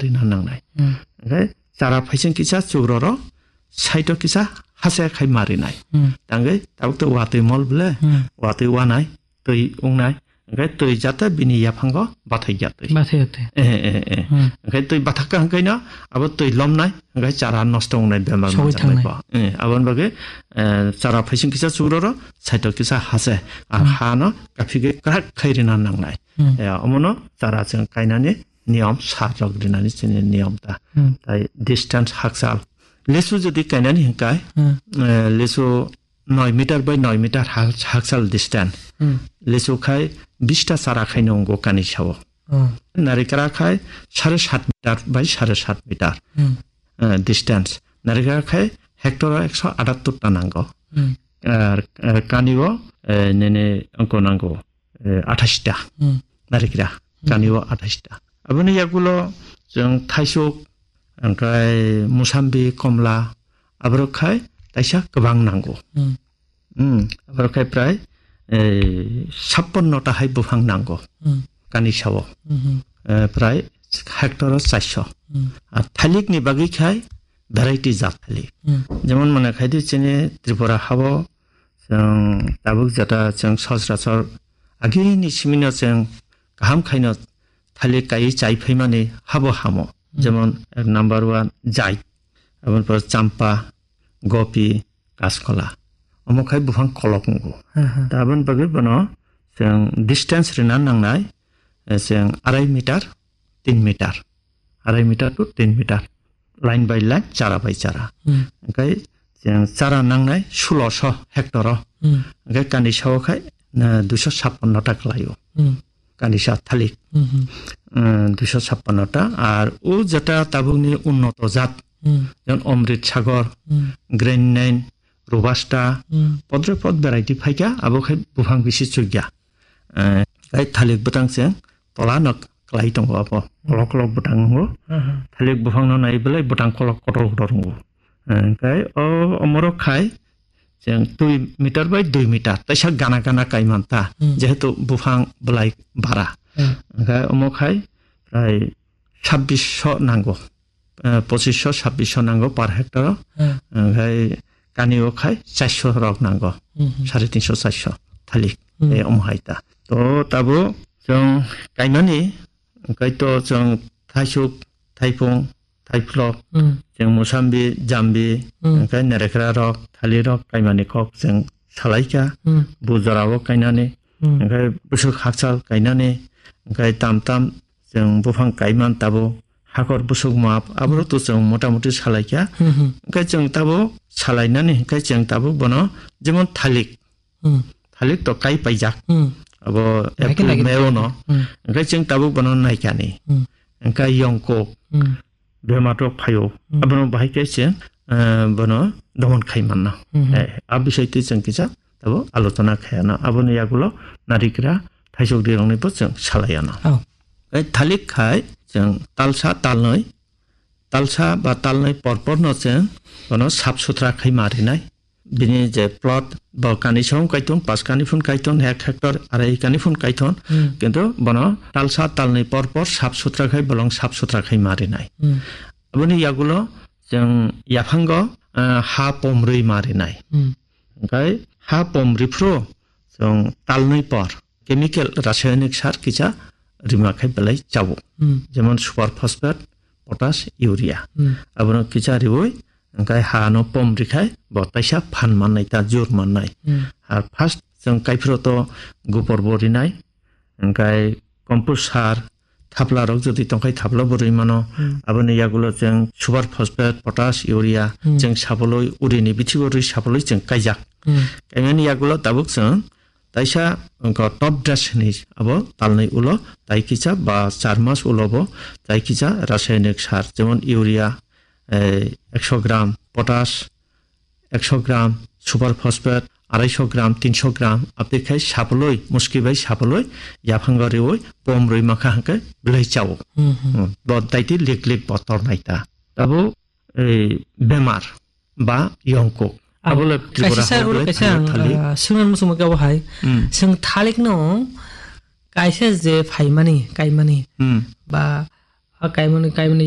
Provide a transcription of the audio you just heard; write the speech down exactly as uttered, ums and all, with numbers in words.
rina nangnai. Hmm. Hwnkhe chara phaising kisa chukroro side o kisa hase khai marinai. Hmm. Tangwi tabuk to watwi mol bwle, Hmm. watwi wanai, twi wngnai. Hwnkhe twi jata bini yaphango bathai ya twi. Bathai ya twi. Eh, eh, eh. Hmm. Hwnkhe twi bathakka hwnkhe no abo twi lomnai, hwnkhe chara nosto wngnai bemar Sogwi manjaknai thangnai. bo. Eh, aboni bagwi, eh, chara phaising kisa chukroro side o kisa hase. A Hmm. hano kaphigwi kwrak khai rina nangnai. Hmm. Eh, omono chara chwng kainani niyom sar rok rinani chini niyom ta. Hmm. Tai distance hakchal. Lisu jodi kainani hwnkhe, Hmm. eh, lisu noi meter by noi meter ha-, hakchal distance. Hmm. Lisu khai bista chara khai nungo kani sao. Oh. Narikra khai sare sat meter by sare sat meter. Hmm. Eh, distance. Narikra khai hectare o ekso atattor ta nango. Hmm. Ar, eh, kani o, eh, nene angko nango. eh, athais ta Hmm. narikra, Hmm. kani o athais ta. Aboni yagulo chwng thaisuk, angkai musambi, komla, aborok khai taisa kwbang nango. Hmm. Hmm, aborok khai prai, eh, sappanno ta hai buphang nango. Hmm. Kani sao. Hmm. Eh, prai hectare o chairso. Hmm. Ar thalik ni bagwi khai variety jat thalik. Hmm. Jemon mane khai di chini Tripura hao Chwng tabuk jata chwng sosrasor agini simino chwng kaham khaino thalik kaiwi chai phaimani habo hamo. Hmm. Jemon, ek number one, jait, aboni pore champa, gopi, kaskola. Omo khai buphang kolok wngo. Hmm, hmm. Ta aboni bagwi bono chwng distance rina nangnai, eh, chwng arai meter, tin meter. Arai meter to tin meter. Line by line, chara by chara. Hmm. Hwnkhe chwng chara nangnai suloso hectare o. Hmm. Hwnkhe kani sao khai, eh, duiso sappanno ta kwlaio. Hmm. Kani sa thalik. Hmm, hmm. Eh, duiso sappanno ta. Ar o jeta tabukni unnoto jat. Hmm. Jemon Amrit Sagar, Hmm. Grand Nine, Robusta, Hmm. podre pod variety phaikha, abo khai buphang bisi chukya. Eh, khai thalik bwtang chwng tola no kwlai tongo abo. Kolok kolok bwtang wngo. Aha. Thalik buphang no nai belai bwtang kolok kotor kotor wngo. Eh, khai o omorok khai chwng dui meter by dui meter. Taisa gana gana kai manta. Hmm. Jehetu buphang belai bara. Hmm. Khai omo khai prai sabbish so nango. Eh, pochisho, sabbish so nango per hectare o. Hmm. Khai kani o khai chairso rok nango. Hmm, hmm. Sare tinso, chairso thalik. Hmm. Eh, omo hai ta. To tabo chwng kaimani, hwnkhe to chwng thaisuk, thaiphung, thaiphlok, Hmm. chwng musambi, jambi, Hmm. hwnkhe nerekra rok, thali rok kaimani kok chwng salaikha. Hmm. Bu jora o kainani, Hmm. hwnkhe bwswk hakchal kainani, hwnkhe tam tam chwng buphang kaiman tabo hakor bwswk map, aborok to chwng motamuti salaikha. Hmm, hmm. Hwnkhe chwng tabo salainani, hwnkhe chwng tabo bono jemon thalik, Hmm. Thalik to kai paijak. Hmm. Abo Naikhe April, naikhe May naikhe. Ono. Hmm. Hwnkhe chwng tabuk bono naikani. Hmm. Hwnkhe yongkuk Hmm. bemar rok phaio. Hmm. Abono bahai khe se, eh, bono domon khai manna. Hmm. Eh, a bisai twi chwng kisa tabo alochona khai ano. Aboni yagulo narikra thaisok rirokni bo chwng salai ano. Oh. Eh, thalik khai chwng talsa talnoi, talsa ba talnoi porpor no chwng bono sap sutra khai ma rinai. Bini je plot, bo kani song kaiton, pas kani phun kaiton, ek hectare, arai kani phun kaiton. Hmm. Kintu bono talsa talni por por sap sutra khai, bolong sap sutra khai ma rinai. Hmm. Aboni yagulo chwng yaphango, ah, ha pomrwi ma rinai. Hmm. Hwnkhe ha pomri phuru chwng talnwi por chemical, rasayanik sar kisa rima khai belai chao. Hmm. Jemon super phosphate, potash, urea. Hmm. Abono kisa riwi, hwnkhe ha no pom rikhai, bo taisa phan mannai ta jur mannai. Hmm. Ar first chwng kaiphuru to gopor bo rinai, hwnkhe compost sar, thapla rok jodi tongkhai thapla bo rwi mano. Hmm. Aboni yagulo chwng super phosphate, potash, urea, Hmm. chwng saboloi, urini bithigo rwi saboloi chwng kaijak. Hmm. Kaimani yagulo tabuk chwng taisa wngkha top dress hinwi abo talnwi ulo tai kisa ba char mas ulo bo tai kisa rasayanik sar jemon urea, eh, ekso gram, potash ekso gram, super phosphate araiso gram, tinso gram, abtwi khai sapoloi, muski bai sapoloi, yaphango riwi pom rwi mankha hwnkhe belai chao. Hmm, hmm. Hmm, bo daiti lik lik bo tornai ta. Abo, eh, bemar ba yongkuk. Ang Abo le Tripura kaisa sa hao ulo belai kaisa phai ang, thalik. Ah, swngna muchungma khe abo hai. Hmm. Chwng thalik no kaisa je phaimani, kaimani Hmm. ba, ah, kaimani, kaimani